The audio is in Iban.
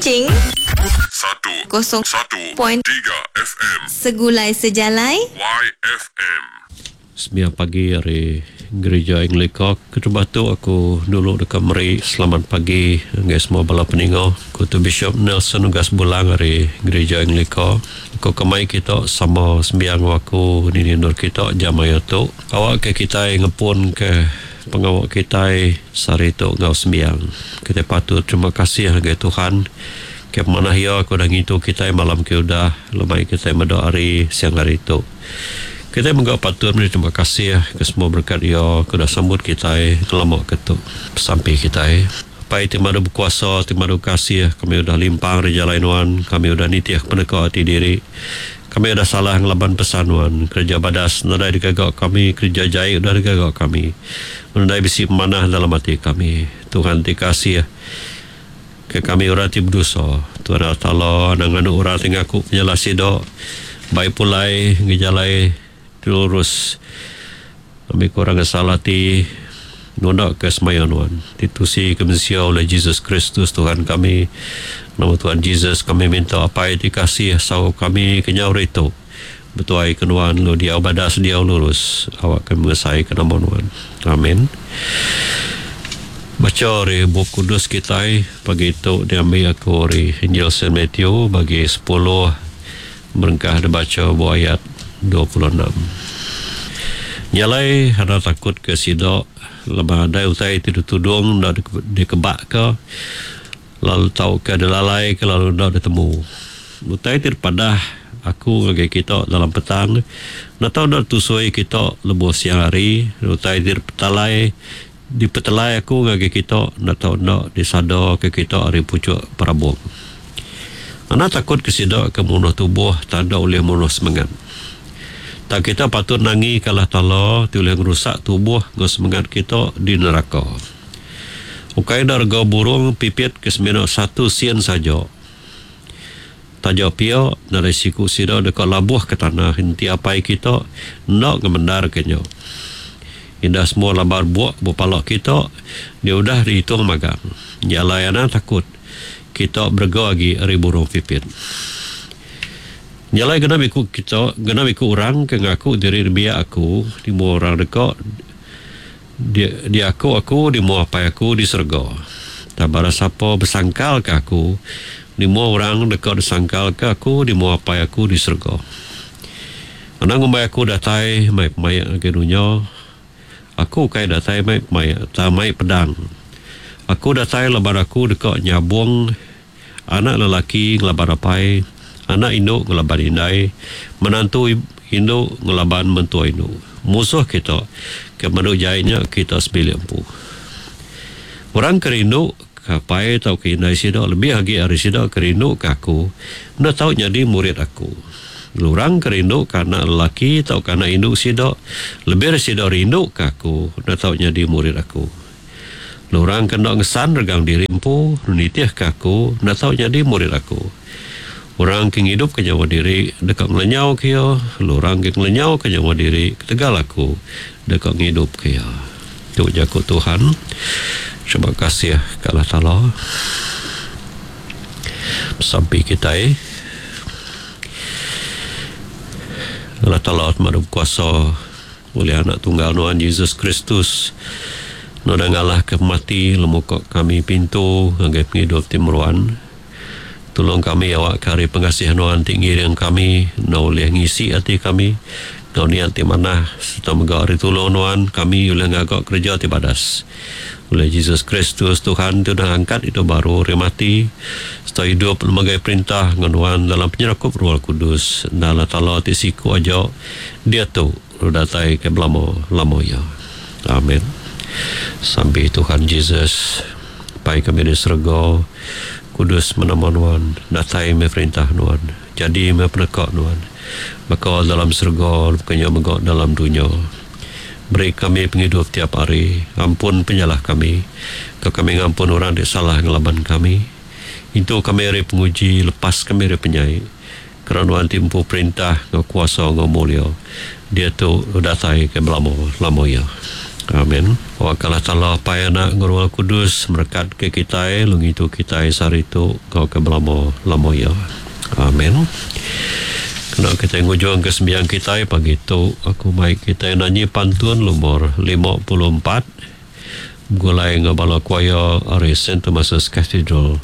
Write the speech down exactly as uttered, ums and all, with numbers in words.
Kuching Satu kosong Satu point Tiga F M Segulai Sejalai Y F M. Sembiang pagi hari Gereja Anglika. Keterubah tu aku dulu deka meri selamat pagi ngagai semua bala peninga. Aku tu Bishop Nelson Ugas Bulang hari Gereja Anglika. Aku kemai kita sama sembiang aku di endur kita jam maya tu. Awak ke kita ngepun ke pengawak kita sehari tu ngau sembiang. Kita patut terima kasih ngagai Tuhan. Ke mana ia aku dah ngintu kita malam ke udah lemai kita meda hari siang hari tu. Kita menggak patut beri terima kasih ke semua berkat ia ke dah sambut kita kelama ke tu. Sampai kita Pai ti madu berkuasa, ti madu kasih, kami udah limpang di jalan nuan, kami udah nitih peneka hati diri. Kami udah salah ngelaban pesan nuan, kerja badas nadai digagak kami, kerja jai udah digagak kami. Nadai bisi manah dalam hati kami. Tuhan ti kasih ke kami orang ti berdosa. Tuhan Allah Taala nang anu orang ti ngaku penyalah sida, baik pulai ngejalai lurus. Kami kurang salah ti nunda ke semaya nuan. Ditusi ke manusia oleh Jesus Kristus Tuhan kami. Nama Tuhan Jesus kami minta apa yang dikasih sau kami kenyau itu. Betuai ke nuan lu dia badas dia lurus. Awak kami mengesai ke nama nuan. Amin. Baca dari Bup Kudus kita pagi itu diambil aku dari Injil Saint Matthew bagi sepuluh merengkah dibaca buah ayat dua puluh enam. Nyalai ada takut ke sidok lepas ada utai tidur tudung dah dikebak ke lalu tahu ke ada lalai ke lalu dah ditemu. Utai tidur padah aku bagi kita dalam petang nak tahu dah tusui kita lebuh siang hari. Utai tidur petalai dipetelai aku bagi kita nak tahu nak disadar ke kita hari pucuk perabung. Anak takut ke sidok ke munuh tubuh tanda oleh munuh semangat. Tak kita patut nangi kalah tala ti boleh ngerusak tubuh ngau semangat kita di neraka. Ukai darga burung pipit ke semina satu sen saja. Taja pia dari siku sida dekat labuh ke tanah henti apai kita nak ngemendar kenyo. Indah semua lambar buak bepalak kita dia udah dihitung magang. Jalai anak takut kita berga lagi ari burung pipit. Nyalai genap ikut kita, genap ikut orang ke ngaku diri biak aku, di mua orang dekat, dia, dia aku, aku, di mua apai aku di serga. Tak bara siapa bersangkal ke aku, di mua orang dekat disangkal ke aku, di mua apai aku di serga. Anang ngumbai aku datai, mai pemayak ke dunia, aku kai datai mai pemayak, tak mai pedang. Aku datai lebar aku dekat nyabung, anak lelaki ngelaban apai, anak induk ngelaban indai, menantu induk ngelaban mentua induk. Musuh kita ke menu jainya kita sebilik empu. Orang kerindu ke apai atau ke indai sida lebih lagi hari sida kerindu ke aku, enda tau jadi murid aku. Orang kerindu ke anak lelaki atau ke anak induk sida lebih sida rindu ke aku, enda tau jadi murid aku. Orang kena ngesan regang diri empu, nitih ke aku, enda tau jadi murid aku. Orang ke ngidup ke nyawa diri dekat ngelenyau ke ia, lalu orang ke ngelenyau ke nyawa diri ketegal aku dekat ngidup ke ia. Tu jaku Tuhan. Terima kasih ke Allah Taala. Sampai kita eh. Allah Taala madu kuasa oleh anak tunggal Tuhan Yesus Kristus. Noda ngalah ke mati lemukok kami pintu ngagai penghidup timuran. Tolong kami awak kari pengasihan Tuhan ti ngiring kami, no oleh ngisi hati kami, no niat ti manah, serta mega ari tolong Tuhan kami oleh ngagak kerja ti badas. Oleh Jesus Kristus Tuhan ti udah angkat itu baru ari mati, serta hidup lembaga perintah ngan Tuhan dalam penyerakup Roh Kudus, dan Allah Taala ti siku aja dia tu datai ke belama-lama ya. Amin. Sampai Tuhan Jesus, Pai kami di serga, Kudus menama Nuan, datai me perintah Nuan, jadi me penekak Nuan, maka dalam serga, bukannya megak dalam dunia. Beri kami penghidup tiap hari, ampun penyalah kami, ke kami ngampun orang di salah ngelaban kami. Itu kami hari penguji, lepas kami hari penyai. Kerana Nuan timpu perintah, ngau kuasa, ngau mulia. Dia tu datai ke belama-lama ya. Amin. Awak Allah Taala Apai Anak enggau Roh Kudus merekat ke kita lalu ngintu kita sehari tu enggau ke belama-lama ya. Amin. Kena kita ngujung ke sembiang kita pagi tu aku mai kita nyanyi pantun nomor lima puluh empat gulai enggau bala choir ari Saint Thomas's Cathedral.